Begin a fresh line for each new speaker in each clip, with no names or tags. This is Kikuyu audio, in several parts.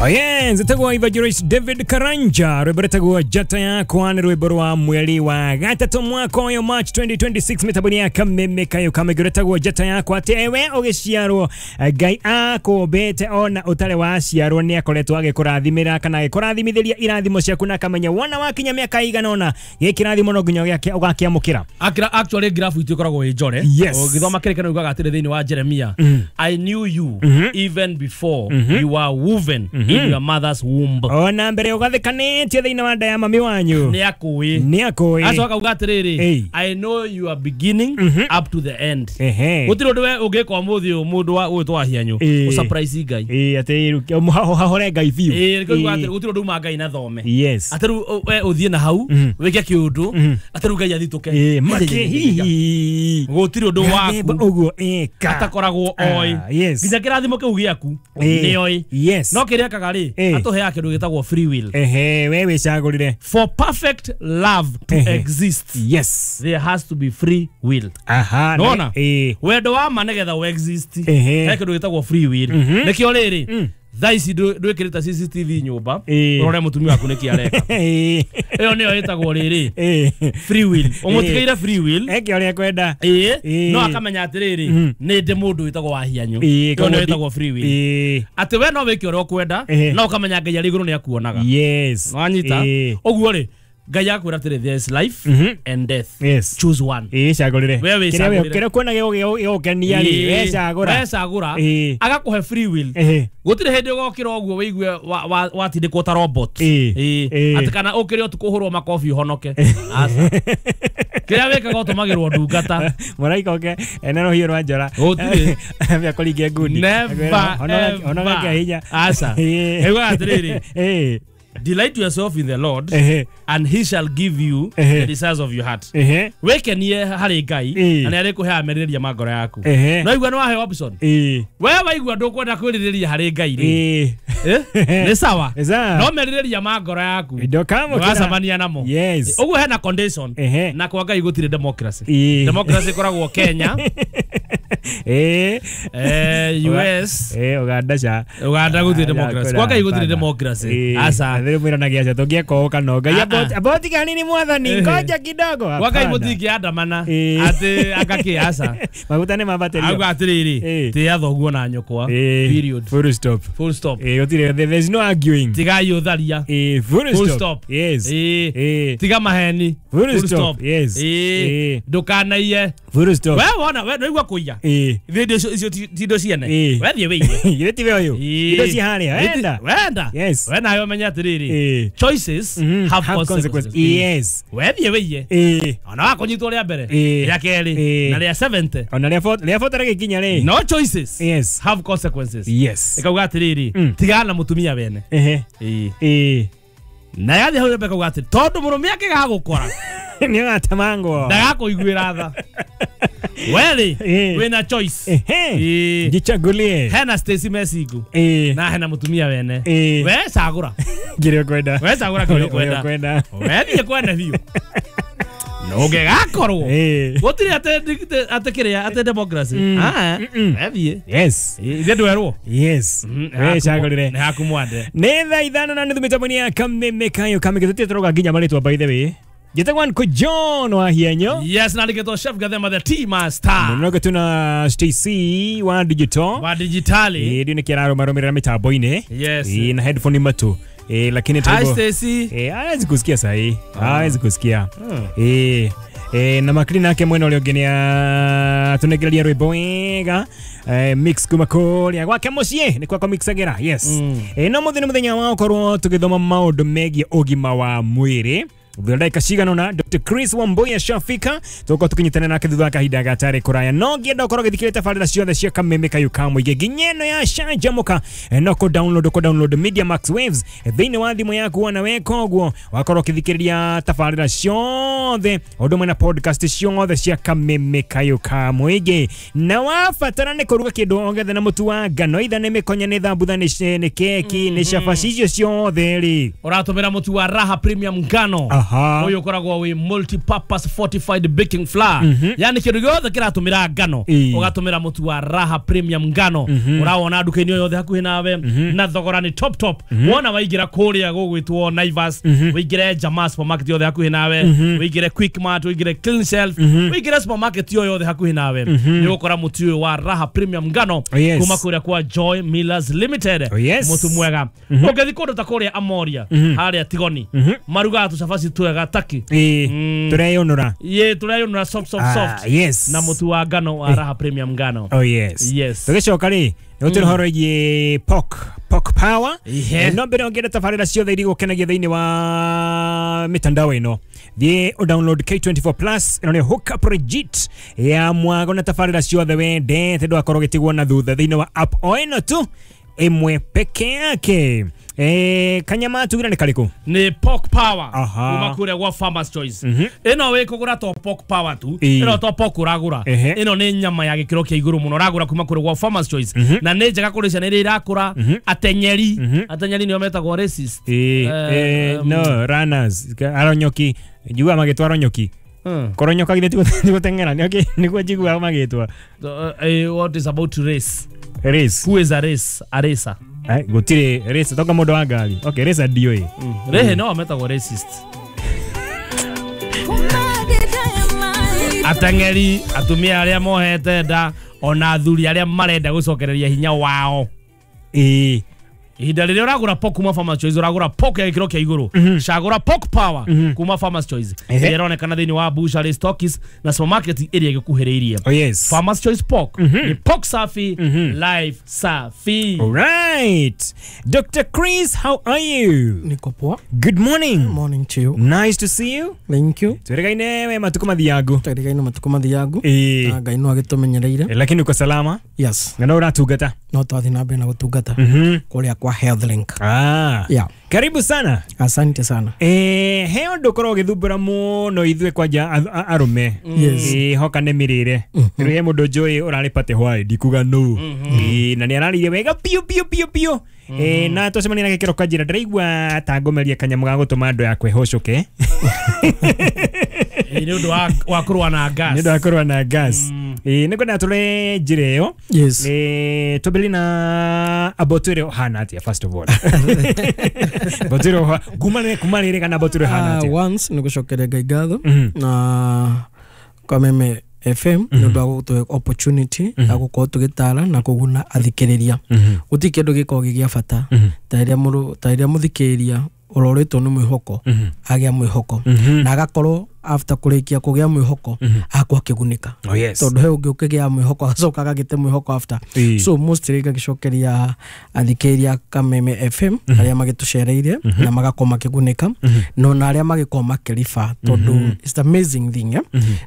Oye, nzetagwo Evangelist David Karanja rwimbo rwetagwo Njata Yakwa nĩ rwimbo rwa mweri wa gatatũ mwaka ũyũ March 2026 mĩtambo-inĩ ya Kameme Kayo Kamege rwetagwo Njata Yakwa atĩ ewe ũgĩciarwo Ngai akũmbĩte ona ũtarĩ waciarwo nĩ akoretwo agĩkũrathimĩra kana agĩkũrathimithĩria irathimo ciaku na akamenya wona wakinya mĩaka ĩigana ũna gĩkĩ kĩrathimo no nginya ũgakĩamũkĩra.
Actually graph itũ ĩkoragwo ĩ njore.
Yes.
Ũgĩthoma kĩrĩkanĩro ugaga atĩrĩ thĩinĩ wa Jeremia, I knew you even before you were woven in your mother's womb.
Ona mbere ũgathĩkanĩtio thĩinĩ wa nda ya mami wanyu
Nĩ akũĩ.
nĩ akũĩ.
Acoka auga atĩrĩrĩ,
Ĩĩ.
I know you are beginning up to the end.
Ehe.
Gũtirĩ ũndũ we ũngĩka ũmũthĩ ũyũ mũndũ wa ũyũ twahianyũ
Ĩĩ.
ũsurprise Ngai.
Ĩĩ, atĩ hahore Ngai biũ.
Ĩĩ, nĩkĩo ugaga
Ĩĩ.
atĩrĩ, gũtirĩ ũndũ uma Ngai na thome.
Yes.
Atĩ rĩu we ũthiĩ na hau wĩke kĩũndũ atĩ rĩu Ngai athitũke.
Ĩĩ, make hihi
Gũtirĩ ũndũ
Gathemba
waku
ũguo ĩka
atakoragwo oĩ.
Ah, yes.
Nginya kĩrathimo kĩu gĩaku
Ĩĩ.
nĩoĩ.
Yes.
No kĩrĩa ekaga rĩ,
Ĩĩ.
atũheaga kĩndũ gĩtagwo free will.
Ehe, we wĩcagũrĩre.
For perfect love to
Ehe.
exist,
Yes.
there has to be free will.
Aha.
Nona?
Ĩĩ.
Wendo wa ma nĩgetha ũ exist
Ehe.
he kĩndũ gĩtagwo free will. Nĩkĩo rĩrĩ thaa ici ndwĩkĩrĩte CCTV nyũmba
Ĩĩ.
ũrore mũtumia waku nĩkĩ areka.
Ĩĩ.
Ĩyo nĩyo ĩtagwo rĩrĩ
Ĩĩ.
free will. Ũmũtigĩire free will.
Eke ũrĩa ekwenda.
Ĩĩ.
Ĩĩ.
No akamenya atĩrĩrĩ nĩ ndĩ mũndũ wĩtagwo Wahianyũ.
Ĩĩ,
Ĩyo nĩyo
koguo
ĩtagwo free will.
Ĩĩ.
Atĩ we no wĩke ũrĩa ũkwenda
Ehe.
no ũkamenya Ngai arĩ igũrũ nĩ akuonaga.
Yes.
Nĩwanyita?
Ĩĩ.
Ũguo rĩ Ngai akwĩra atĩrĩ there is life and death.
Yes.
Choose one.
Ĩĩ, cagũrĩre.
We
Kĩrĩa we-
wĩcagũrĩre.
kĩrĩa ũkuona gĩgũkenia rĩ, we cagũra.
We cagũra.
Ĩĩ.
Agakũhe free will.
Ehe.
Gũtirĩ hĩndĩ ũgokĩra ũguo wĩigue watindĩkwo ta robot.
Ĩĩ.
Ĩĩ.
Ĩĩ.
Atĩ kana ũkĩre ũtukũ ũhũrwo makobi ũhonoke. Aca. Kĩrĩa wĩkaga ũtũmagĩrwo ndungata.
Mũraika oke ena rũhiũ rwa njora.
Gũtirĩ.
Ambia kũringia ngundi.
Never,
Honoga- honoga
ever.
kĩa hinya.
Aca.
Ĩĩ.
Ĩugaga atĩrĩrĩ,
Ĩĩ.
delight yourself in the Lord
Ehe.
and he shall give you
Ehe.
the desires of your heart.
Ehe.
Wĩkenie harĩ Ngai
Ĩĩ.
na nĩ arĩkũheaga merirĩria ma ngoro yaku.
Ehe.
No igua nĩ waheo option.
Ĩĩ.
We waigua ndũkwenda kwĩrirĩria harĩ Ngai rĩ.
Ĩĩ.
Eh? Nĩ sawa.
Nĩ sawa.
No merirĩria ma ngoro yaku
Ndũkamũkĩra.
ndũgacemania namo.
Yes.
Ũguo hena condition.
Ehe.
Na kwa Ngai gũtirĩ democracy.
Ĩĩ.
Democracy ĩkoragwo Kenya,
Ĩĩ.
US,
Ĩĩ, Uganda ca.
Uganda gũtirĩ democracy. Kwa Ngai gũtirĩ democracy. Aca.
Athĩrĩ mwĩranagia aca tũngĩeka ũũ kana ũũ. Ngai
Ah, ah.
aboti kanini mwathani
Ehe.
ngoja kidogo.
Kwa Ngai
Hapana.
mũtingĩandamana
Ĩĩ.
atĩ angakĩ aca.
Maguta nĩ mambatĩrio.
Auga atĩrĩrĩ,
Ĩĩ.
tĩĩa thoguo na nyũkwa.
Ĩĩ.
Period.
Full stop.
Full stop.
Ĩĩ, gũtirĩ there's no arguing.
Tigai ũtharia.
Ĩĩ, full
Full
stop.
stop.
Yes.
Ĩĩ.
Ĩĩ.
Tiga maheni.
Full stop. Yes.
Ĩĩ.
Ĩĩ.
Ndũkanaiye.
Full stop.
We wona we nĩwaigua kũiya.
Ĩĩ.
Ithuĩ indo icio ti indo ciene.
Ĩĩ.
We thiĩ wĩiye.
Githĩ tiwe ũyũ?
Ĩĩ.
Indo ciĩ harĩa. Wenda.
Wenda.
Yes.
We nawe ũmenye atĩrĩrĩ.
Ĩĩ.
Choices have consequences.
Yes.
We thiĩ wĩiye.
Ĩĩ.
Ona wakũnyitwo rĩa mbere,
Ĩĩ.
rĩa kerĩ,
Ĩĩ.
na rĩa 70.
Ona rĩa rĩa rĩgĩkinya rĩ.
No choices
Yes.
have consequences.
Yes.
Ĩkauga atĩrĩrĩ, tigana na mũtumia wene.
Ehe.
Ĩĩ.
Ĩĩ.
Na yathiĩ hau mbere ĩkauga atĩrĩ, tondũ mũrũme angĩgagũkora
Nĩ ũgatemangwo.
ndagakũiguĩra tha. We rĩ,
Ĩĩ.
wĩna choice.
Ehe.
Ĩĩ.
Jichagulie.
Hena Stacy Mesingu
Ĩĩ.
na hena mũtumia wene.
Ĩĩ.
We cagũra.
Kĩrĩa ũkwenda.
We cagũra kĩrĩa ũkwenda.
Ũrĩa ũkwenda.
We thiĩ kwene biũ. Na ũngĩgakorwo
Ĩĩ.
gũtirĩ atĩ kĩrĩa atĩ democracy. Ah, we thiĩ.
Yes.
Ithuĩ ndwerwo.
Yes. We cagũrĩre.
Nĩ haku mwande.
Nĩ thaa 5:30 mĩtambo-inĩ ya Kameme Kayo Kameme tũtirĩ tũroga nginya marĩtwa by the way. Njĩtagwo Uncle John wa Hienyo.
Yes, na nĩkĩtwo Chef Gathema the Tea Master.
Mũnoge tuna Stacy wa digital.
Wa digitali.
Ĩĩ ndio nĩkĩ ararũmarũmĩrĩra mĩtambo-inĩ.
Yes.
Ĩĩ na headphone matũ. Ĩĩ lakini
Hi
taibo.
Stacy.
Ĩĩ hawezi kusikia sahi. Hawezi kusikia. Ĩĩ. Ĩĩ na makiri nake mwena ũrĩa ũngĩ nĩ atũnengereria rwĩmbo wega mix kuma kũrĩa gwake mũciĩ nĩ kwakwa mixagĩra. Yes. Ĩĩ no mũthĩ nĩ mũthenya wa gũkorwo tũgĩthoma maũndũ megiĩ ũgima wa mwĩrĩ. Thutha ndagĩka cigana ũna Dr. Chris Wambui ashafika tũgũkorwo tũkĩnyitana nake thutha wa kahinda gatarĩ kũraya no ngĩenda ũkorwo ũgĩthikĩrĩria tabarĩra ciothe cia Kameme Kayo ka Mũingĩ nginya ĩno ya Canjamũka no kũ download Media Max Waves thĩinĩ wa thimũ yaku wona weka ũguo wakorwo ũkĩthikĩrĩria tabarĩra ciothe ũndũ ũmwe na podcast ciothe cia Kameme Kayo ka Mũingĩ na wabatara nĩ kũruga kĩndũ o gĩothe na mũtu wa ngano itha nĩ mĩkonye nĩ thambutha nĩ keki nĩ cabaci icio ciothe rĩ
Ũratũmĩra mũtu wa Raha Premium ngano.
Aha.
Ũyũ ũkoragwo wĩ multi-purpose fortified baking flour. Yani kĩndũ gĩothe kĩratũmĩra ngano ũgatũmĩra mũtu wa Raha Premium ngano. Ũrawona nduka-inĩ o yothe hakuhĩ nawe na thogora nĩ top top. Wona waingĩra kũrĩa gũgwĩtwo Naivas, wĩingĩre Jamaa supermarket yothe hakuhĩ nawe, wĩingĩre Quickmart, wĩingĩre Clean Shelf, wĩingĩre supermarket yo yothe hakuhĩ nawe, nĩ ũgũkora mũtu ũyũ wa Raha Premium ngano kuma kũrĩa kwa Joy Millers Limited. Mũtu mwega. Ũngĩthiĩ kũndũ ta kũrĩa Amoria, harĩa Tigoni, marugaga tũcabaci twega taki.
Tũreyũnũra.
Ye tũreyũnũra soft soft soft. Na mũtu wa ngano wa Raha Premium ngano.
Oh yes. Tũgĩcoka rĩ, nĩ ũhoro wĩgiĩ Pork Power. No mbere ũngĩenda tabarĩra ciothe iria igũkenagia thĩinĩ wa mitandao ĩno, thiĩ ũ download K24 Plus. Ĩno nĩ hook up legit ya mwago na tabarĩra ciothe wendete, ndũgakorwo ũgĩtigwo na thutha thĩinĩ wa app o ĩno tu ĩmwe peke yake. Kanyama tugira nĩ karĩkũ?
Nĩ Pork Power kuma kũrĩa gwa Farmers Choice. Ĩno wĩ kũgũra to Pork Power tu, ĩno to pork ũragũra, ĩno nĩ nyama ya gĩkĩro kĩa igũrũ mũno ũragũra kuma kũrĩa gwa Farmers Choice. Na nĩ njega kũrĩ ciana iria irakũra, atenyeri, atenyeri nĩo metagwo racist.
No runners, aronyoki, njiguaga magĩtwo aronyoki. Koronyoka githĩ ti gũteng'era, nĩguo njiguaga magĩtwa.
What is about to race?
Race.
Who is a race? A racer.
Gũtirĩ racer, toka mũndũ wa ngari. Okay, racer ndiũĩ.
Rehe no metagwo racist. Ateng'eri, atumia arĩa mohete nda, ona athuri arĩa marenda gũcokereria hinya wao. Ihinda rĩrĩa ũragũra pork kuma Farmers Choice, ũragũra pork ya gĩkĩro kĩa igũrũ. Cagũra Pork Power kuma Farmers Choice. Ĩrĩa ĩronekana thĩinĩ wa butchery, stockies na supermarket ĩrĩa ĩgĩkuhĩrĩirie.
Oh yes.
Farmers Choice Pork ni pork safi, life safi.
All right. Dr. Chris, how are you?
Niko poa.
Good morning.
Morning to you.
Nice to see you.
Thank you.
Twĩrĩgaine we matukũ mathiangu.
Twĩrĩgaine matukũ mathiangu. Na Ngai no agĩtũmenyereire.
Lakini uko salama?
Yes.
Na no ũratungata?
No twathiĩ na mbere na gũtungata. Kũrĩa kwa Health Link. Yeah.
Karibu sana.
Asante sana.
He ũndũ ũkoragwo ũgĩthumbũra mũno ithuĩ kwanja arũme.
Yes.
Hoka nĩ mĩrĩre. Rĩu he mũndũ njũĩ ũrarĩ party hwaĩ, ndikuga nũ. Na nĩ ararĩire wega biũ biũ biũ biũ. Na twacemania nake kĩroko njĩra ndĩraigua ta ngũmeria kanyamũ ga gũtũma andũ yakwa ĩhũcũke.
Nĩ ũndũ wa kũrũa na gas.
Nĩ ũndũ wa kũrũa na gas. Nĩ ngwenda tũre njĩra ĩyo.
Yes.
Twambĩrĩrie na abotwĩre ũhana atĩa first of all. Botwĩre kuma rĩrĩ kana botwĩre ũhana atĩa?
Once nĩ gũcokeria Ngai ngatho na Kameme FM nĩ ũndũ wa gũtũhe opportunity ya gũkorwo tũgĩtara na kũguna athikĩrĩria. Gũtirĩ kĩndũ gĩkoragwo gĩ gĩa bata ta rĩrĩa mũthikĩrĩria ũrorĩtwo nĩ mwĩhoko agĩa mwĩhoko na agakorwo after kũrĩkia kũgĩa mwĩhoko agakorwo akĩgunĩka. Tondũ he ũngĩ ũkĩgĩa mwĩhoko agacoka agagĩte mwĩhoko after. So mostly ngagĩcokeria athikĩrĩria Kameme FM arĩa magĩtũcereire na magakorwo makĩgunĩka, no na arĩa magĩkorwo makĩriba, tondũ it's the amazing thing.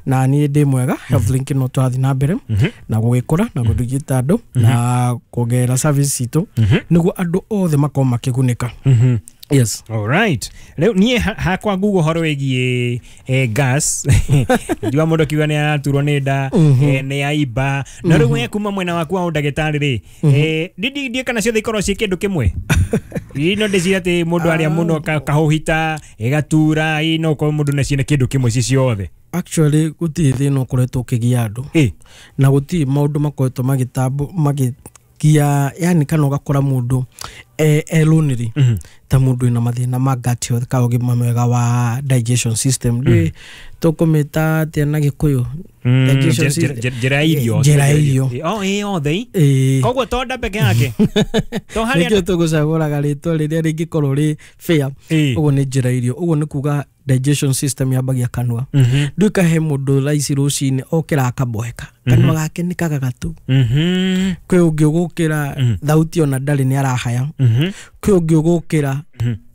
Na niĩ ndĩ mwega. Health Link no tũrathiĩ na mbere na gũgĩkũra na gũthigita andũ na kuongerera service citũ nĩguo andũ othe makorwo makĩgunĩka. Yes.
All right. Leo niĩ hakwa Google horo wĩgiĩ gas. Njua mũndũ akiuga nĩ araturwo nĩ nda, nĩ aiba. Na rĩu we kuma mwena waku wa ũndagĩtarĩ rĩ, ndiĩ kana ciothe ikorwo ciĩ kĩndũ kĩmwe. Ĩ no ndĩciria atĩ mũndũ arĩa mũno kahũhita, ĩgatura, ĩ no ũkorwo mũndũ nacio nĩ kĩndũ kĩmwe ci ciothe.
Actually gũtirĩ thĩna ũkoretwo ũkĩgia andũ. Na gũtirĩ maũndũ makoretwo magĩtambo magĩgia, yani kana ũgakora mũndũ e lonely ta mũndũ wĩna mathĩna ma gut health ka ũgima mwega wa digestion system. Ndũĩ tũkũmĩta atĩa na Gĩkũyũ? Digestion system.
Njĩra ya irio.
Njĩra ya irio.
Oh, ĩ othe. Koguo to nda peke yake. To harĩa
nĩkĩo tũgũcagũraga rĩtwa rĩrĩa rĩngĩkorwo rĩ fair. Ũguo nĩ njĩra irio. Ũguo nĩ kuga digestion system yambagia kanua. Nduĩka he mũndũ thaa ici rũcinĩ okĩra akaboeka, kanua gake nĩ kagagatu. Kwĩ ũngĩ ũgũkĩra thauti ona ndarĩ nĩ arahaya. Kwĩ ũngĩ ũgũkĩra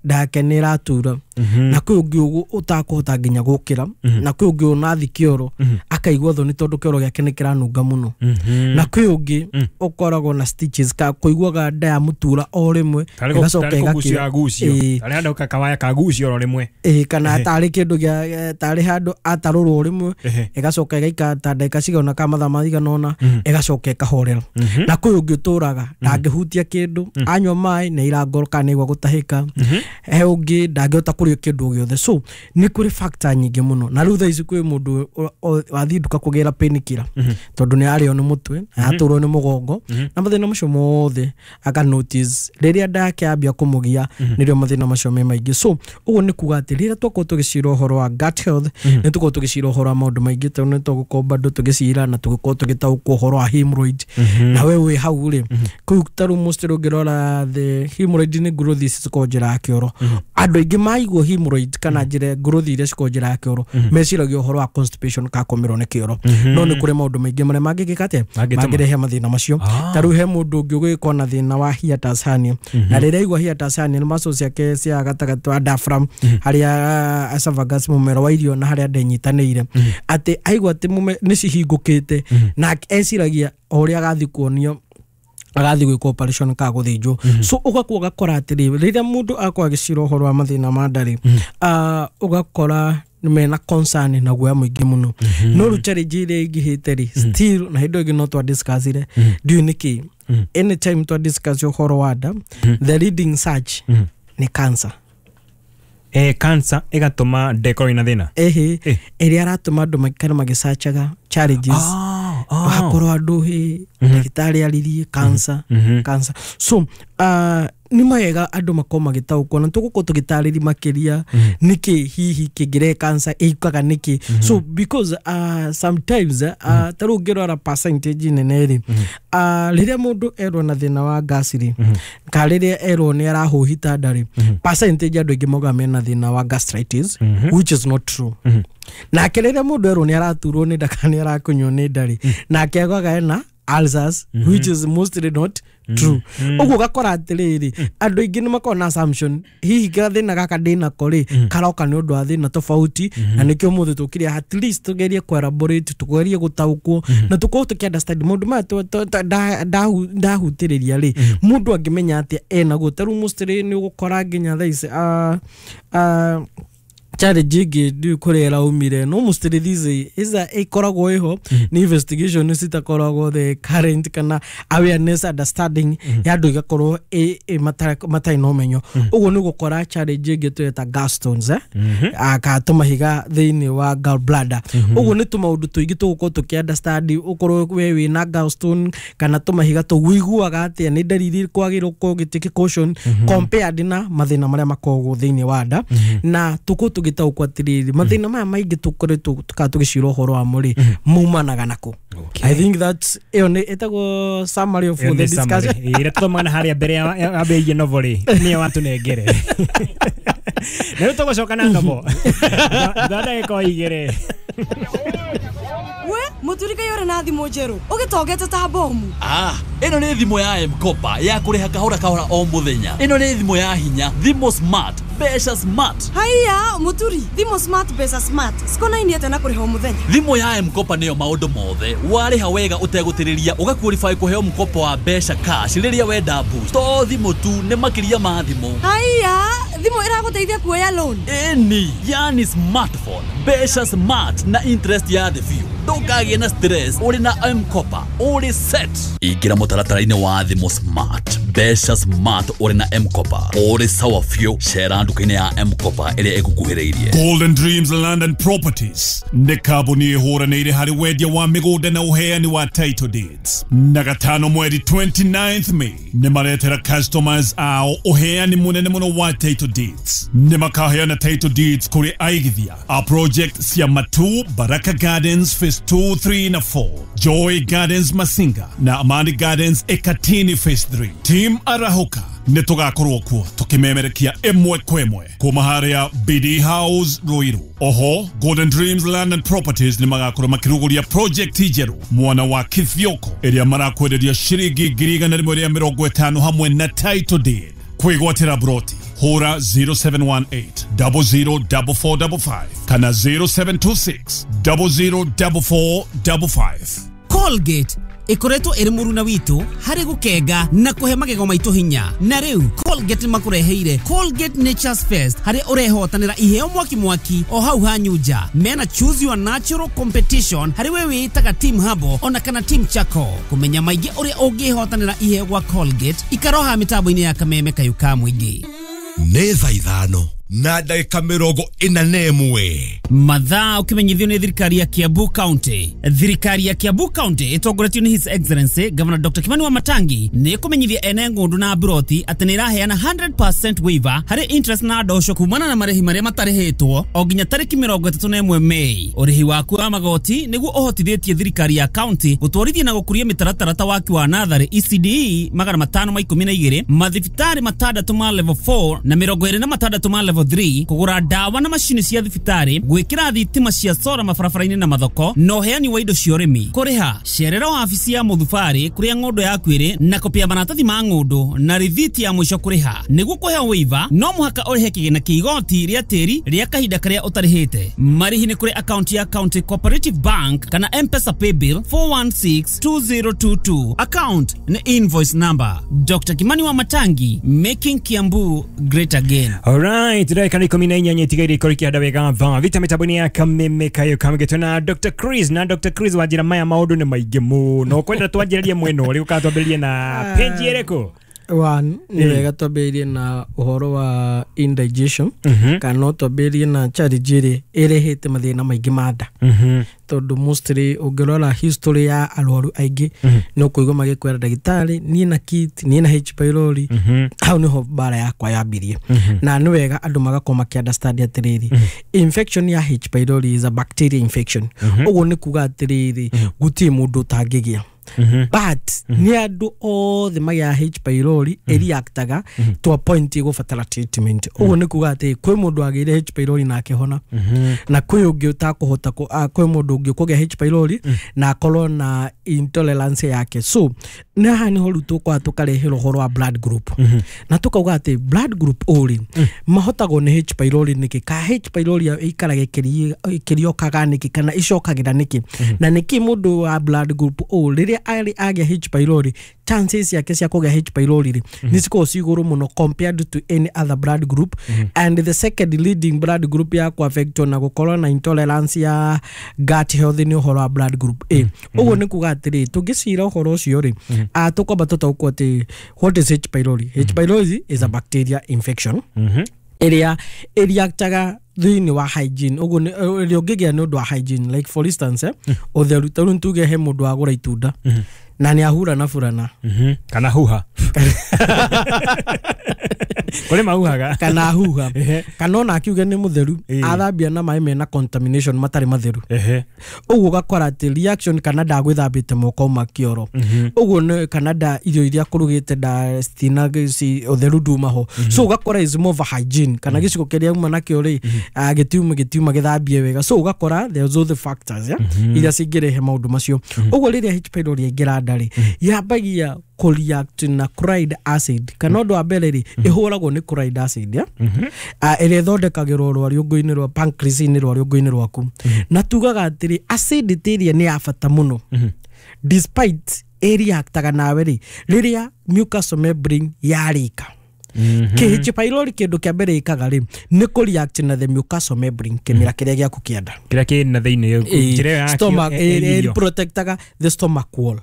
ndake nĩ ĩratura. Na kwĩ ũngĩ ũtakũhota nginya gũkĩra. Na kwĩ ũngĩ onathi kĩoro akaigua thoni tondũ kĩoro gĩake nĩ kĩranunga mũno. Na kwĩ ũngĩ ũkoragwo na stitches ka kũiguaga nda ya mũtura o rĩmwe ĩgacoka ĩgakira.
Tarĩ handũ kawaya kagucio oro rĩmwe.
Kana tarĩ kĩndũ gĩa tarĩ handũ atarũrwo rĩmwe ĩgacoka ĩgaikara ta ndagĩka cigana kana mathaa maigana ũna ĩgacoka ĩkahorera. Na kwĩ ũngĩ ũtũraga ndangĩhutia kĩndũ, anyua maĩ nĩ aira ngoro kana nĩ aigua gũtahĩka. He ũngĩ ndangĩhota kũrĩa kũrĩa kĩndũ gĩothe. So nĩ kũrĩ factor nyingĩ mũno, na rĩu thaa ici kwĩ mũndũ wathiĩ nduka kũgĩra painkiller tondũ nĩ arĩo nĩ mũtwe, atũrwo nĩ mũgongo na mathĩna macio mothe, aka notice rĩrĩa nda yake yambia kũmũgia nĩrĩo mathĩna macio me maingĩ. So ũguo nĩ kuga atĩ rĩrĩa twakorwo tũgĩcira ũhoro wa gut health, nĩ tũkorwo tũgĩcira ũhoro wa maũndũ maingĩ, tondũ nĩ tũgũkorwo bado tũgĩcira na tũgĩkorwo tũgĩtaũkwo ũhoro wa hemorrhoid. Na we wĩ hau rĩ, kũu ta rĩu mostly ũngĩrora the hemorrhoid nĩ growth ici cikoragwo njĩra ya kĩoro. Andũ aingĩ maigua hemorrhoid kana njĩra growth iria cikoragwo njĩra ya kĩoro meciragia ũhoro wa constipation ka kũmĩrwo nĩ kĩoro, no nĩ kũrĩ maũndũ maingĩ marĩa mangĩgĩka atĩa, mangĩrehe mathĩna macio. Ta rĩu he mũndũ ũngĩ ũgĩkorwo na thĩna wa hiatus hernia, na rĩrĩa aigua hiatus hernia nĩ muscles ciake cia gatagatĩ wa diaphragm harĩa esophagus, mũmero wa irio, na harĩa nda ĩnyitanĩire, atĩ aigua atĩ nĩ cihingũkĩte, na eciragia o ũrĩa agathiĩ kuonio agathiĩ gwĩkwo operation ka gũthĩnjwo. So ũgakorwo ũgakora atĩrĩ, rĩrĩa mũndũ akorwo agĩcira ũhoro wa mathĩna ma nda rĩ, ũgakora mena concern na guoya mũingĩ mũno. No rĩu challenge ĩrĩa ĩingĩhĩte rĩ, still na hĩndĩ ĩyo ĩngĩ no twa discussire, ndiũĩ nĩkĩ anytime twa discuss ũhoro wa nda, the leading search nĩ cancer.
Cancer ĩgatũma nda ĩkorwo ĩna thĩna?
Ĩhĩ, ĩrĩa aratũma andũ maikare magĩcacaga challenges, wakorwo andũ hĩ ndagĩtarĩ aririe cancer, cancer. So nĩ mawega andũ makorwo magĩtaũkwo, na tũgũkorwo tũgĩtarĩria makĩria nĩkĩ hihi kĩngĩrehe cancer, ĩkaga nĩkĩ. So because sometimes ta rĩu ũngĩrora percentage nene rĩ, rĩrĩa mũndũ erwo na thĩna wa gas rĩ, ka rĩrĩa erwo nĩ arahũhita nda rĩ, percentage andũ aingĩ maugaga mena thĩna wa gastritis, which is not true. Nake rĩrĩa mũndũ erwo nĩ araturwo nĩ nda kana nĩ arakunywo nĩ nda rĩ, nake augaga ena ulcers, which is mostly not true. Ũguo ũgakora atĩrĩrĩ, andũ aingĩ nĩ makoragwo na assumption hihi gathĩna gaka ndĩnako rĩ karoka nĩ ũndũ wa thĩna tofauti, na nĩkĩo ũmũthĩ tũkire at least tũgerie kũ elaborate, tũgerie gũtaũkwo na tũkorwo tũkĩ understand maũndũ maya ndahutĩrĩria rĩ, mũndũ angĩmenya atĩa enaguo. Ta rĩu mostly nĩ ũgũkora nginya thaa ici challenge ĩngĩ ndiũĩ kũrĩa ĩraumire, no mostly these is ĩkoragwo ĩho nĩ investigation citakoragwo the current kana awareness, understanding ya andũ ĩgakorwo matarĩ na ũmenyo. Ũguo nĩ ũgũkora challenge ĩngĩ tũreta gallstones, ka tũmahiga thĩinĩ wa gallbladder. Ũguo nĩ tũmaũndũ tũingĩ tũgũkorwo tũkĩ understand, ũkorwo we wĩna gallstone kana tũmahiga tũu ũiguaga atĩa, nĩ ndariri kwagĩrĩirwo gũkorwo ũgĩtake caution compared na mathĩna marĩa makoragwo thĩinĩ wa nda. Na tũkorwo tũgĩtaũkwo atĩrĩrĩ, mathĩna maya maingĩ tũkoretwo kana tũgĩcira ũhoro wamo rĩ, maumanaga nako. I think that ĩyo nĩ ĩtagwo summary of the discussion.
Ĩrĩa tũthomaga na harĩa mbere yambĩrĩirie novel rĩ, nĩyo watũnengere, na rĩu tũgũcoka na novel tha ndagĩka o 2.
We muturika yore na thimũ njerũ ũgĩtongete ta bomu.
Ĩno nĩ thimũ ya M-Kopa ya kũrĩha kahora kahora o mũthenya. Ĩno nĩ thimũ ya hinya, thimũ smart, mbeca smart.
Haiya muturi, thimũ smart, mbeca smart cikonainie atĩa na kũrĩha o mũthenya?
Thimũ ya M-Kopa nĩyo maũndũ mothe. Warĩha wega ũtegũtĩrĩria ũgaqualify kũheo mkopo wa mbeca cash rĩrĩa wenda boost. To thimũ tu, nĩ makĩria ma thimũ.
Haiya, thimũ ĩragũteithia kuoya loan?
Ĩni, yani smartphone, mbeca smart na interest ya thĩ biũ. Ndũkagĩe na stress, ũrĩ na M-Kopa ũrĩ set. Ingĩra mũtaratara-inĩ wa thimũ smart, mbeca smart, ũrĩ na M-Kopa ũrĩ sawa biũ. Cera nduka-inĩ ya M-Kopa ĩrĩa ĩgũkuhĩrĩirie.
Golden Dreams Land and Properties nĩ kambuni ĩhũranĩire harĩ wendia wa mĩgũnda na ũheani wa title deeds. Na gatano mweri 29th May nĩ maretera customers ao ũheani mũnene mũno wa title deeds. Nĩ makaheana title deeds kũrĩ aigithia a project cia Matu, Baraka Gardens Phase 2, 3 na 4, Joy Gardens Masinga na Amani Gardens Ekatini Phase 3. Team Arahuka nĩ tũgakorwo kuo tũkĩmemerekia ĩmwe kwa ĩmwe kuma harĩa BD House Ruiru. Oho Golden Dreams Land and Properties nĩ magakorwo makĩrugũria project njerũ mwana wa Kithioko ĩrĩa marakwenderia shiringi 150,000 hamwe na title deed. Kwĩgwatĩra broti hũra 0718 004455 kana 0726 004455.
Colgate ikoretwo ĩrĩ mũruna witũ harĩ gũkenga na kũhe magego maitũ hinya. Na rĩu Colgate makũreheire Colgate Nature's Fest, harĩa ũrehotanĩra iheo mwaki mwaki o hau hanyu nja. Mena choose your natural competition harĩ we wĩtaga team Habo ona kana team Chako. Kũmenya maingĩ ũrĩa ũngĩhotanĩra iheo gwa Colgate, ikaroha mĩtambo-inĩ ya Kameme Kayũ ka Mũingĩ.
Nĩ thaa 5. na ndagĩka 41.
Mathaa ũkĩmenyithio nĩ thirikari ya Kiambu County. Thirikari ya Kiambu County ĩtongoretio nĩ His Excellency Governor Dr. Kimani Wamatangi nĩ ĩkũmenyithia ene ng'ũndũ na mburoti atĩ nĩ ĩraheana 100% waiver harĩ interest na ndosho kumana na marĩhi marĩa matarĩhĩtwo o nginya tarĩki 31 Mei. Ũrĩhi waku wa magoti nĩguo ũhotithĩtie thirikari ya county gũtwarithia na gũkũria mĩtaratara ta waki wa natharĩ ECDE 512, mathibitarĩ 6 ma level 4 na 26 ma level 3, kũgũra ndawa na macini cia thibitarĩ, gwĩkĩra thitima cia sora mabarabara-inĩ na mathoko, na ũheani wa indo cia ũrĩmi. Kũrĩha cerera wabici ya mũthubarĩ kũrĩa ng'ũndũ yaku ĩrĩ na kopia maratathi ma ng'ũndũ na rithiti ya mũico kũrĩha. Nĩguo kũheo waiver no mũhaka ũrĩhe kĩgĩna kĩa igoti rĩa tĩri rĩa kahinda karĩa ũtarĩhĩte. Marĩhi nĩ kũrĩ akaunti ya County Cooperative Bank kana M-Pesa Paybill 4162022. Account nĩ invoice number. Dr. Kimani Wamatangi, making Kiambu great again.
Alright, ndagĩka nĩ 18 itigaire ikorwo ikĩhanda wega thaa thita mĩtambo-inĩ ya Kameme Kayo Kamũgeto na Dr. Chris. Na Dr. Chris wanjĩra maya maũndũ nĩ maingĩ mũno, kwenda twanjĩrĩrie mwena ũrĩkũ kana twambĩrĩrie na page ĩrĩkũ?
One, nĩ wega twambĩrĩrie na ũhoro wa indigestion, kana no twambĩrĩrie na challenge ĩrĩa ĩrehete mathĩna maingĩ ma nda, tondũ mostly ũngĩrora history ya arwaru aingĩ nĩ ũkũigua magĩkwĩra ndagĩtarĩ niĩ na kit, niĩ na H pylori, hau nĩho mbara yakwa yambirie. Na nĩ wega andũ magakorwo makĩ understand atĩrĩrĩ, infection ya H pylori is a bacteria infection. Ũguo nĩ kuga atĩrĩrĩ, gũtirĩ mũndũ ũtangĩgĩa, but nĩ andũ othe magĩa H pylori ĩreactaga to a point ĩgũbatara treatment. Ũguo nĩ kuga atĩ kwĩ mũndũ agĩire H pylori na akĩhona, na kwĩ ũngĩ ũtakũhota kwĩ mũndũ ũngĩ ũkũgĩa H pylori na akorwo na intolerance yake. So nĩ haha nĩho rĩu tũkwaga tũkarehera ũhoro wa blood group, na tũkauga atĩ blood group O rĩ mahotagwo nĩ H pylori nĩkĩ, ka H pylori ĩikaraga ĩkĩriokaga nĩkĩ, kana ĩcokagĩra nĩkĩ, na nĩkĩ mũndũ wa blood group O rĩrĩa arĩ agĩa H pylori chances yake cia kũgĩa H pylori rĩ nĩ cikoragwo ci igũrũ mũno compared to any other blood group. And the second leading blood group ya kũaffectwo na gũkorwo na intolerance ya gut health nĩ ũhoro wa blood group A. Ũguo nĩ kuga atĩrĩ, tũngĩcira ũhoro ũcio rĩ, tũkwamba tũtaũkwo atĩ what is H pylori. H pylori is a bacteria infection ĩrĩa ĩreactaga thĩinĩ wa hygiene. Ũguo ĩrĩa ũngĩgĩa nĩ ũndũ wa hygiene, like for instance ũtheru. Ta rĩu tuge he mũndũ wagũra itunda na nĩ ahura na burana
kana huha kũrĩ mahuhaga
kana huha, kana ona akiuge nĩ mũtheru athambia na maĩ mena contamination matarĩ matheru. Ũguo ũgakora atĩ reaction kana ndagwĩthambĩte moko ma kĩoro, ũguo nĩ kana nda irio iria kũrugĩte nda citina ũtheru nduma ho. So ũgakora is more of a hygiene, kana gĩcigo kĩrĩa uma nakĩo rĩ gĩtiuma gĩthambie wega. So ũgakora there's all the factors iria cingĩrehe maũndũ macio. Ũguo rĩrĩa H pylori yaingĩra nda rĩ, yambagia kũreact na chloride acid, kana ũndũ wa mbere rĩ ĩhũragwo nĩ chloride acid ĩrĩa ĩthondekagĩrwo rwariũngũ-inĩ rwa pancreas-inĩ rwariũngũ-inĩ rwaku. Na tugaga atĩrĩ acidity ĩrĩa nĩ ya bata mũno, despite ĩreactaga nawe rĩ rĩrĩa mucous membrane yarĩka. H pylori kĩndũ kĩa mbere ĩkaga rĩ nĩ kũreact na the mucous membrane, kĩmira kĩrĩa gĩaku kĩa nda
kĩrĩa kĩ na thĩinĩ, njĩra ĩyo
stomach protectaga the stomach wall.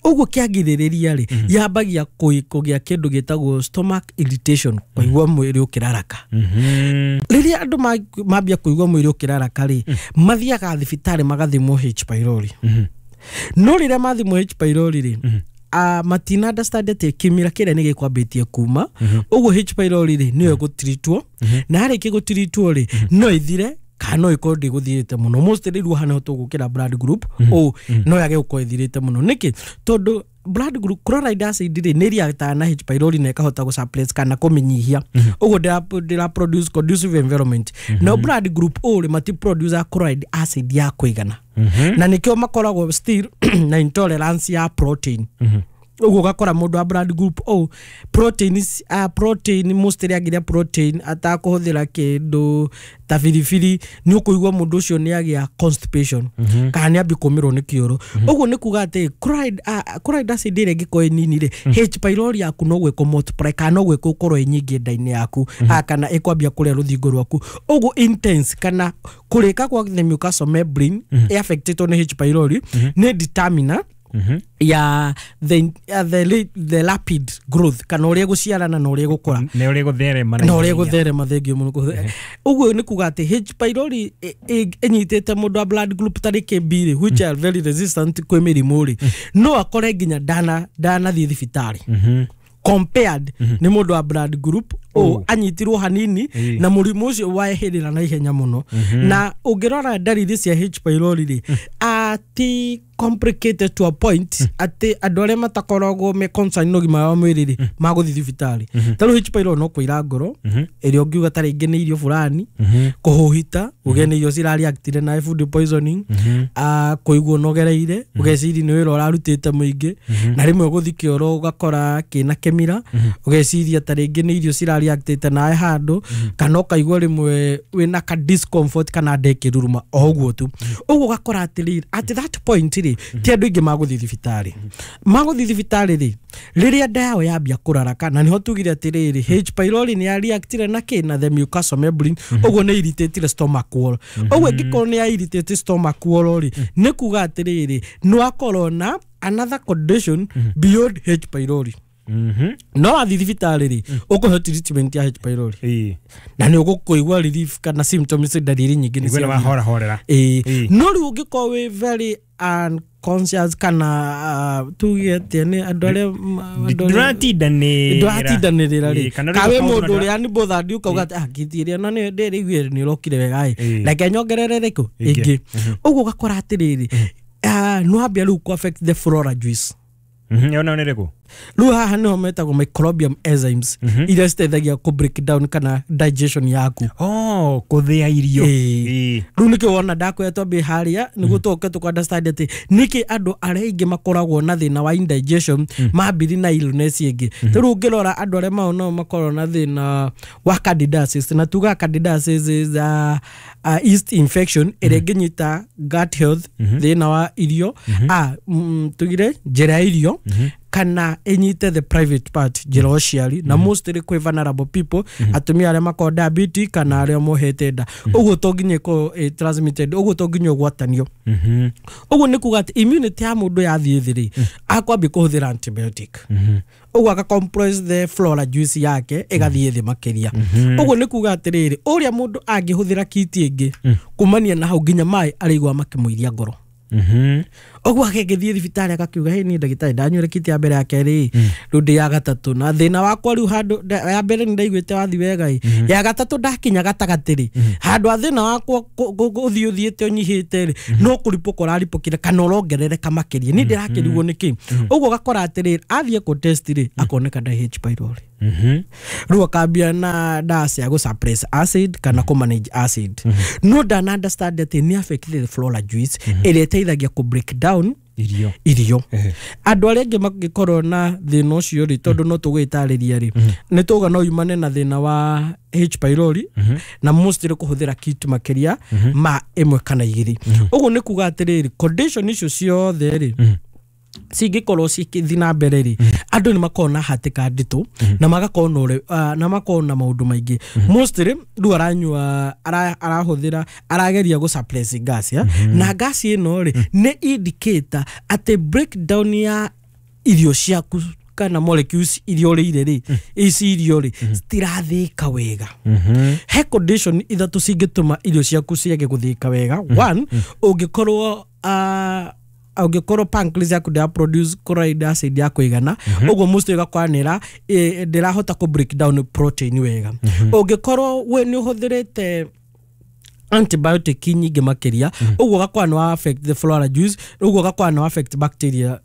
Ũguo kĩagirĩrĩria rĩ yambagia kũgĩa kĩndũ gĩtagwo stomach irritation, kũigua mwĩrĩ ũkĩraraka. Rĩrĩa andũ mambia kũigua mwĩrĩ ũkĩraraka rĩ, mathiaga thibitarĩ magathimwo H pylori. No rĩrĩa mathimwo H pylori rĩ, matina understand atĩ kĩmira kĩrĩa nĩ gĩkwambĩtie kuma. Ũguo H pylori rĩ nĩyo ĩgũtiritwo, na yarĩkia gũtiritwo rĩ no ĩthire kana no ĩkorwo ndĩgũthirĩte mũno. Mostly rĩu haha nĩho tũgũkĩra blood group O no yage gũkorwo ĩthirĩte mũno. Nĩkĩ? Tondũ blood group chloride acid rĩ nĩ reactaga na H pylori na ĩkahota gũsuppress kana kũmĩnyihia. Ũguo ndĩra produce conducive environment. No blood group O rĩ mati produce chloride acid ya kũigana, na nĩkĩo makoragwo still na intolerance ya protein. Ũguo ũgakora mũndũ wa blood group O protein, protein mostly agĩrĩa protein atakũhũthĩra kĩndũ ta biribiri, nĩ ũkũigua mũndũ ũcio nĩ agĩa constipation kana nĩ ambia kũmĩrwo nĩ kĩoro. Ũguo nĩ kuga atĩ chloride acid ĩrĩa ĩngĩkorwo ĩ nini rĩ, H pylori yaku no gwĩkwo multiply kana no gwĩkwo gũkorwo ĩ nyingĩ nda-inĩ yaku, kana ĩkwambia kũrĩa rũthingo rwaku. Ũguo intense kana kũrĩka kwa the mucous membrane ĩaffectĩtwo nĩ H pylori nĩ determiner Ya the rapid growth kana ũrĩa gũciarana na ũrĩa gũkũra
nĩ ũrĩa gũtherema
na ũrĩa gũtherema. Thengio mũno. Ũguo nĩ kuga atĩ H pylori ĩnyitĩte mũndũ wa blood group tarĩ B rĩ, which are very resistant kwĩ mĩrimũ rĩ, no akore nginya ndanathiĩ thibitarĩ compared nĩ mũndũ wa blood group O, anyitirwo hanini na mũrimũ ũcio wehĩrĩra na ihenya mũno. Na ũngĩrora ndariri cia H pylori rĩ, ati complicated to a point atĩ andũ arĩa matakoragwo me concerned na ũgima wa mwĩrĩ rĩ magũthiĩ thibitarĩ. Ta rĩu H pylori no kũira ngoro ĩrĩa ũngiuga ta rĩngĩ nĩ irio fulani, kũhũhita ũgĩe nĩ irio cirareactire na food poisoning, kũigua ũnogereire, ũgeciria nĩ wĩra ũrarutĩte mũingĩ, na rĩmwe gũthiĩ kĩoro ũgakora kĩna kĩmira, ũgeciria ta rĩngĩ nĩ irio cirareactĩte nawe handũ, kana ũkaigua rĩmwe wĩna ka discomfort kana nda ĩkĩruruma o ũguo tu. Ũguo ũgakora atĩrĩrĩ, at that point rĩ, ti andũ aingĩ magũthiĩ thibitarĩ. Magũthiĩ thibitarĩ rĩ, rĩrĩa nda yao yambia kũraraka, na nĩho tugire atĩrĩrĩ, H pylori nĩ yareactire na kĩ? Na the mucosal membrane. Ũguo nĩ irritatire stomach wall. Ũguo ĩngĩkorwo nĩ ya irritate stomach wall rĩ, nĩ kuga atĩrĩrĩ, nĩ wakorwo na another condition beyond H pylori. No wathiĩ thibitarĩ rĩ, ũkũheo treatment ya H pylori na nĩ ũgũkũigua relief kana symptoms, ndariri nyingĩ nĩ
Nĩguo nĩ
ciathira.
wahorahorera.
Ĩĩ, no rĩu ũngĩkorwo wĩ very unconscious kana tuge atĩa, nĩ andũ arĩa andũ arĩa-
Ndũratindanĩrĩra.
Ndũratindanĩrĩra rĩ,
Kana
ka wĩ
rĩu
mũndũ
ũkaũndũ
ũrĩa nĩ bothered, ũkauga atĩ ah, ngiti ĩrĩa na nĩ ndĩrĩiguire nĩ ũrokire wega ĩ,
Ĩĩ.
reke nyongerere rĩkũ
Ĩngĩ.
ĩngĩ. Ũguo ũgakora atĩrĩrĩ, nĩ wambia rĩu kũ affect the flora juice.
Ĩyo nayo nĩ ĩrĩkũ?
Rĩu haha nĩho metagwo microbium enzymes iria citeithagia kũ break down kana digestion yaku.
Oh, kũthĩa irio.
Ĩĩ. Rĩu nĩkĩo wona ndakwĩra twambie harĩa nĩguo tũke tũkũ understand atĩ nĩkĩ andũ arĩa aingĩ makoragwo na thĩna wa indigestion mambiri na illness ĩngĩ. Ta rĩu ũngĩrora andũ arĩa mao no makoragwo na thĩna wa candidiasis, na tuga candidiasis is a yeast infection ĩrĩa ĩngĩnyita gut health, thĩna wa irio, tugire njĩra ya irio, kana ĩnyite the private part, njĩra ya ũciari, na mostly kwĩ vulnerable people, atumia arĩa makoragwo diabetic kana arĩa mohete nda. Ũguo to nginya ĩkorwo ĩ transmitted, ũguo to nginya ũgwatanio. Ũguo nĩ kuga atĩ immunity ya mũndũ yathiĩ thĩ rĩ, akwambia kũhũthĩra antibiotic, ũguo aka compress the flora juice yake ĩgathiĩ thĩ makĩria. Ũguo nĩ kuga atĩrĩrĩ, ũrĩa mũndũ angĩhũthĩra kiti ĩngĩ kumania na hau nginya maĩ arĩigua makĩmũiria ngoro. Ũguo akĩngĩthiĩ thibitarĩ akakiuga, "Hĩ, niĩ ndagĩtarĩ, ndanyuire kiti ya mbere, ya kerĩ, rĩu ndĩ ya gatatũ, na thĩna wakwa rĩu handũ ya mbere nĩ ndaiguĩte wathi wega ĩ, ya gatatũ ndakinya gatagatĩ rĩ, handũ ha thĩna wakwa ũthiĩ ũthiĩte ũnyihĩte rĩ, no kũripũka ũraripũkire kana ũrongerereka makĩria, niĩ ndĩrakĩrigwo nĩkĩ?" Ũguo ũgakora atĩrĩrĩ, athiĩ kũ test rĩ, akoneka nda H pylori. Rĩu akambia na ndawa cia gũ suppress acid kana kũ manage acid, no ndana understand atĩ nĩ affect the flora juice ĩrĩa ĩteithagia kũ break down
irio.
Irio. Andũ arĩa angĩ mangĩkorwo na thĩna ũcio rĩ, tondũ no tũgwĩtarĩria rĩ, nĩ tuga no yumane na thĩna wa H pylori na mostly kũhũthĩra kit makĩria ma ĩmwe kana igĩrĩ. Ũguo nĩ kuga atĩrĩrĩ, condition icio ciothe rĩ, cingĩkorwo cikĩthiĩ na mbere rĩ, andũ nĩ makoragwo na hatĩka nditũ na magakorwo na na makorwo na maũndũ maingĩ. Mostly rĩu aranyua, arahũthĩra, arageria gũ suppress gas ya na gas ĩno rĩ, nĩ indicator atĩ breakdown ya irio ciaku kana molecules iria ũrĩire rĩ, ici irio rĩ, citirathĩka wega. He condition ithatũ cingĩtũma irio ciaku ciage gũthĩka wega. One, ũngĩkorwo pancreas yaku ndĩra produce chloride acid ya kũigana, ũguo mostly ũgakora nĩra ndĩrahota kũ break down protein wega. Ũngĩkorwo we nĩ ũhũthĩrĩte antibiotic nyingĩ makĩria, ũguo ũgakora nĩ wa affect the flora juice, ũguo ũgakora nĩ wa affect bacteria,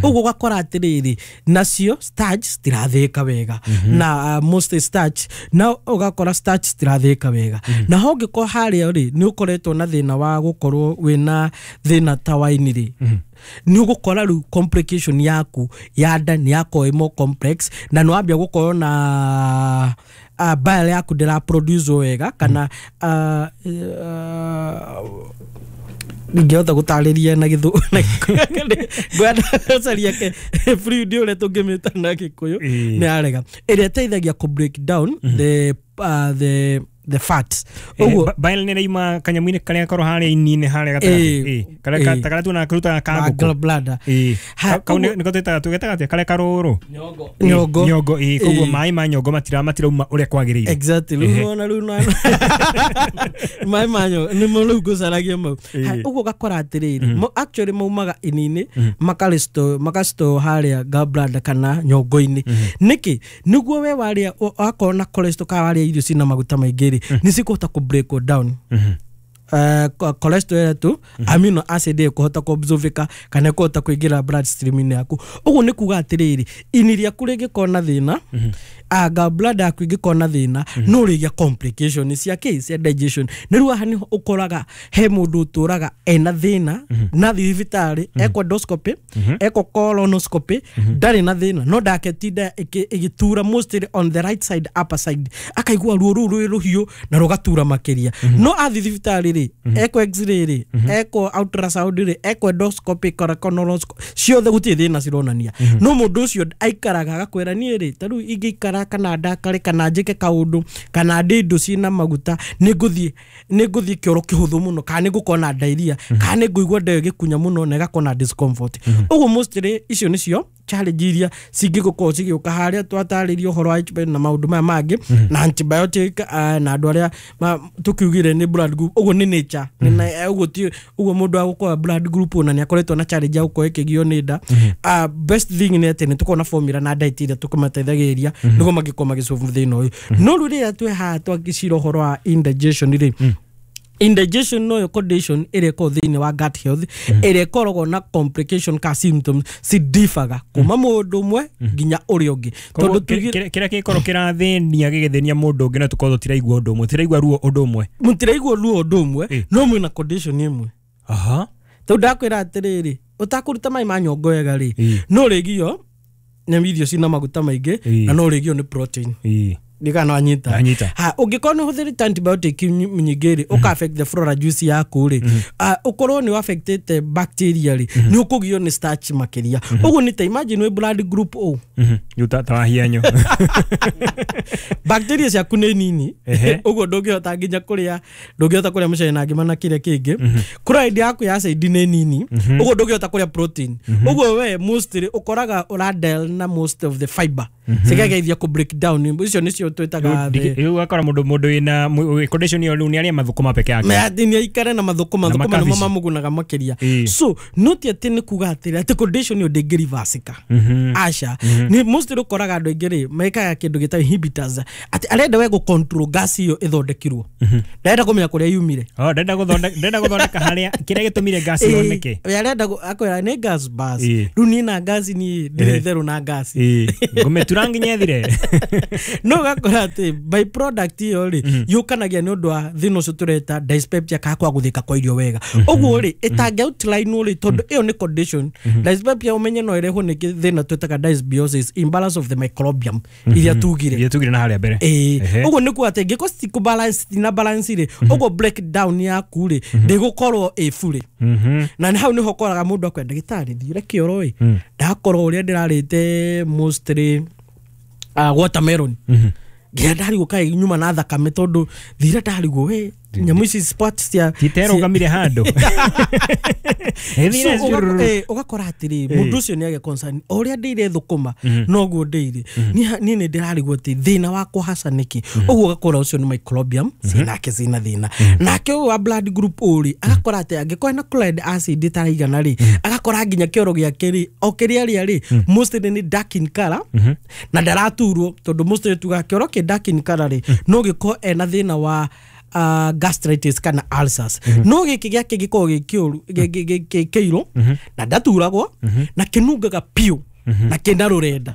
ũguo ũgakora atĩrĩrĩ, nacio starch citirathĩka wega na most starch, na ũgakora starch citirathĩka wega. Na ho ũngĩkorwo harĩa rĩ, nĩ ũkoretwo na thĩna wa gũkorwo wĩna thĩna ta waini rĩ, nĩ ũgũkora rĩu complication yaku ya nda nĩ yakorwo ĩ more complex, na nĩ wambia gũkorwo na bile yaku ndĩra produce wega kana ingĩhota gũtarĩria na gĩthũ ngwenda gũcaria fluid ũrĩa tũngĩmĩta na Gĩkũyũ.
Ĩĩ.
Nĩ arega ĩrĩa ĩteithagia kũ break down the the fat. Ũguo
bile nĩ ĩraima kanyamũ-inĩ karĩa korwo harĩa ini-inĩ harĩa gatagatĩ, karĩa karĩa tuona karutaga ka ngũkũ
gallbladder.
Kau nĩko twĩtaga tũgetaga atĩa karĩa karũrũ
nyongo
nyongo. Koguo maĩ ma nyongo matirauma ũrĩa kwagĩrĩire.
Exactly. Rĩu nona rĩu maĩ ma nyongo nĩmo rĩu ngũcaragia mau. Ũguo ũgakora atĩrĩrĩ, actually maumaga ini-inĩ makastore harĩa gallbladder kana nyongo-inĩ. Nĩkĩ? Nĩguo we warĩa wakorwo na cholesterol kana warĩa irio cina maguta maingĩ rĩ, nĩ cikũhota kũ break down cholesterol tu amino acid ĩkũhota kũabsorbĩka kana ĩkũhota kũingĩra blood stream-inĩ yaku. Ũguo nĩ kuga atĩrĩrĩ, ini rĩaku rĩngĩkorwo na thĩna, gallbladder yaku ĩngĩkorwo na thĩna, no ũrĩgĩa complication cia kĩ cia digestion. Nĩ rĩu haha nĩho ũkoraga he mũndũ ũtũraga ena thĩna na thiĩ thibitarĩ ekwo endoscopy, ekwo colonoscopy, ndarĩ na thĩna, no ndaketinda ĩgĩtura mostly on the right side, upper side, akaigua ruo rũu rwĩ rũhiũ na rũgatura makĩria. No athiĩ thibitarĩ rĩ, ekwo x-ray rĩ, ekwo ultrasound rĩ, ekwo endoscopy, colonoscopy, ciothe gũtirĩ thĩna cironania. No mũndũ ũcio aikaraga agakwĩra niĩ rĩ, ta rĩu ingĩikara kana ndakare kana njĩke kaũndũ kana ndĩe indo ciĩna maguta, nĩngũthiĩ kĩoro kĩhũthũ mũno, kana nĩngũkorwo na diarrhea, kana nĩngũigua nda ĩyo ĩgĩkunya mũno na ĩgakorwo na discomfort. Ũguo mostly icio nĩcio challenge iria cingĩgũkorwo cigĩũka harĩa twatarĩria ũhoro wa HIV na maũndũ maya mangĩ na antibiotic, na andũ arĩa tũkiugire nĩ blood group. Ũguo nĩ nature, ũguo ti ũguo mũndũ agũkorwo blood group ona nĩ akoretwo na challenge ya gũkorwo ĩkĩgio nĩ nda. Best thing nĩ atĩ nĩ tũkorwo na formula na diet iria tũkũmateithagĩrĩria nĩguo mangĩkorwo magĩsolve thĩna ũyũ. No rĩu rĩrĩa twĩ haha twagĩcira ũhoro wa indigestion rĩ, indigestion no yo condition ĩrĩa ĩkoragwo thĩinĩ wa gut health, ĩrĩa ĩkoragwo na complication ka symptoms cidifaga kuma mũndũ ũmwe nginya ũrĩa ũngĩ.
Tondũ kĩrĩa gĩkorwo kĩrathĩnia gĩgĩthĩnia mũndũ ũngĩ, no tũkorwo tũtiraigua ũndũ ũmwe, tũtiraigua ruo ũndũ ũmwe,
mũtiraigua ruo ũndũ ũmwe, no mwĩna condition ĩmwe. Tondũ ndakwĩra atĩrĩrĩ, ũtakũruta maĩ ma nyongo wega rĩ, no ũrĩgio nĩ irio cina maguta maingĩ na no ũrĩgio nĩ protein. Ndikana wanyita. Ha, ũngĩkorwo nĩ ũhũthĩrĩte antibiotic nyingĩ rĩ, ũka affect the flora juice yaku rĩ, ũkorwo nĩ affectĩte bacteria rĩ, nĩ ũkũgio nĩ starch makĩria. Ũguo nĩ ta imagine wĩ blood group O.
Rĩu ta wahianyo.
Bacteria ciaku nĩ nini, ũguo ndũngĩhota nginya kũrĩa, ndũngĩhota kũrĩa mũcere na ngima na kĩrĩa kĩngĩ. Chloride yaku ya acid nĩ nini, ũguo ndũngĩhota kũrĩa protein. Ũguo we mostly ũkoraga ũradel na most of the fiber cigageithia kũ break down. Icio nĩcio twĩtaga
rĩu ũgakora mũndũ wĩna condition ĩyo rĩu nĩ arĩa mathũkũma peke yake,
atĩ nĩ aikare na mathũkũma, thũkũma nĩmo mamũgunaga makĩria. So no ti atĩ nĩ kuga atĩrĩ atĩ condition ĩyo ndĩngĩrivasika, aca. Nĩ mostly ũkoraga andũ aingĩ rĩ mekaga kĩndũ gĩtagwo inhibitors, atĩ arenda we gũ control gas ĩyo ĩthondekirwo, ndarenda kũmenya kũrĩa yumire.
Ndenda gũthondeka harĩa kĩrĩa gĩtũmire gas yoneke.
We arenda akwĩra nĩ gas bas, rĩu niĩ na gas niĩ ndirĩ itherũ na gas,
ngũmĩtura nginya ĩthire.
No ũgakora atĩ by product ĩyo rĩ yũkanagia nĩ ũndũ wa thĩna ũcio tũreta dyspepsia, kana kwaga gũthĩka kwa irio wega. Ũguo rĩ ĩtangĩ outline rĩ, tondũ ĩyo nĩ condition dyspepsia, ũmenye no ĩrehwo nĩ thĩna twĩtaga dysbiosis, imbalance of the microbiome iria tugire
na harĩa mbere.
Ũguo nĩ kuga atĩ ingĩkorwo citikũ na balance rĩ, ũguo breakdown yaku rĩ ndĩgũkorwo ĩ fully. Na hau nĩho ũkoraga mũndũ akwenda ndagĩtarĩ thiĩre kĩoro ĩ, ndakorwo ũrĩa ndĩrarĩte mostly watermelon, nginya ndarigwo kaĩ nyuma na thakame, tondũ thira ndarigwo we nyamũ ici spots cia
titerũgamire handũ.
Ũgakora atĩrĩ mũndũ ũcio nĩ agĩa concern, o ũrĩa ndĩire thũkũma noguo ndĩire, niĩ nĩ ndĩrarigwo atĩ thĩna wakwa haca nĩkĩ. Ũguo ũgakora ũcio nĩ microbiome cinake cina thĩna. Nake ũyũ wa blood group O rĩ, agakora atĩ angĩkorwo na chloride acid ĩtaraigana rĩ, agakora nginya kĩoro gĩake rĩ, o kĩrĩa arĩa rĩ mostly nĩ dark in color na ndaraturwo, tondũ mostly tugaga kĩoro kĩ dark in color rĩ no gĩkorwo ena thĩna wa gastritis kana ulcers. No gĩkĩ gĩake gĩkoragwo gĩ kĩirũ na ndaturagwo na kĩnungaga piũ na kĩna rũrenda.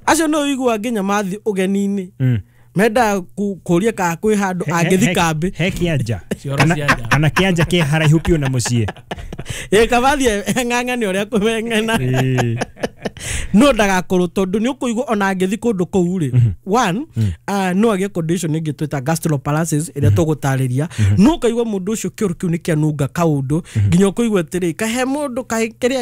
Acio no ũiguaga nginya mathiĩ ũgeni-inĩ mendaga kũria kana kwĩ handũ angĩthi kambĩ
he kĩanja kana kĩanja kĩ haraihu piũ na mũciĩ,
kabathiĩ eng'ang'ane ũrĩa kũmeng'ena, no ndagakorwo, tondũ nĩ ũkũigua ona angĩthi kũndũ kũu rĩ, one no agĩe condition ĩngĩ twĩta gastroparalysis ĩrĩa tũgũtarĩria. No ũkaigua mũndũ ũcio kĩoro kĩu nĩ kĩanunga kaũndũ nginya ũkũigua atĩrĩ kahe mũndũ kĩrĩa